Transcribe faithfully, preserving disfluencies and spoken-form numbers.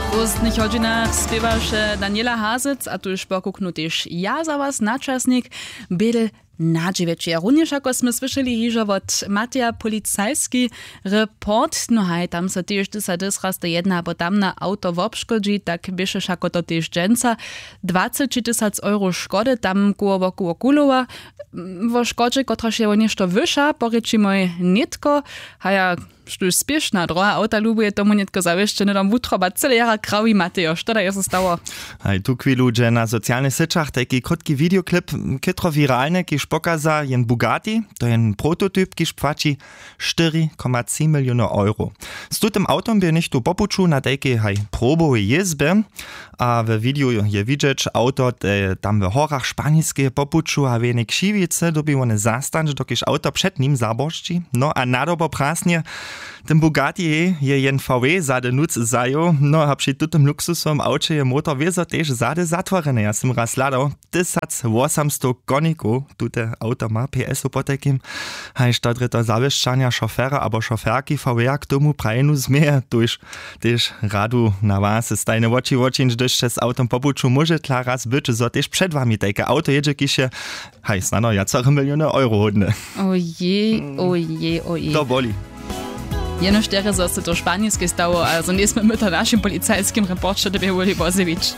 W pózdnych hodźinach spěwaše Daniela Hazec a tuž pokuknu tež ja za was na časnik. Bědel na dźewjeće. Runjež jako smy słyšeli hižo wot Mateja policajski report, no haj, tam so tež tysa dysraste jedna abo tamna awto wobškodźi, tak běše wšako to tež dźensa dwaceći tysac euro škody tam koło wokoło kulowa. Wo škodźe, kotraž je wo něšto wyša, porěčimoj nětko. Haja, štóž spěšna droha awta lubuje, tomu nětko zawěsće hnydom wutroba cyle jara krawi. Matejo, što da je so stało? Haj, tu chwilu dźe na socialnych syćach tajki krótki videoklip, chětro wiralny, kiž pokaza jen Bugatti, to je jen prototyp, kiž płaći štyri koma tři miliony euro. Z tutym awtom bě něchtó po puću na tajkej haj probowej jězbje. A we videju je widźeć awto, te tam w horach Španiskeje po puću a w jenej křiwicy dyrbi wone zastanć, dokelž awto před nim zaboršći. No a nadobo prasnje, ten Bugatti je jen V W zady nóc zajěł. No a při tutym luksusowym awće je motor wězo tež zady zatworjeny. Ja sym raz hladał, tysacwosomstow konikow tute awto ma, P S-ow potajkim. Haž to drje to zawěsćanja šofera abo šoferki V W k tomu prajenu změje, tuž tež radu na was, stajne woči wočińć, hdyž sće z awtom po puću, móžetla raz być, zo tež před wami tajke awto jědźe, kiž je, haj, snano wjacore miliony euro hódne. Ojej, ojej, ojej. To boli. Jenož terje, zo se to w Španskej stało, a zo njejsmy my to w našim policajskim reporće dyrbjeli wozjewić.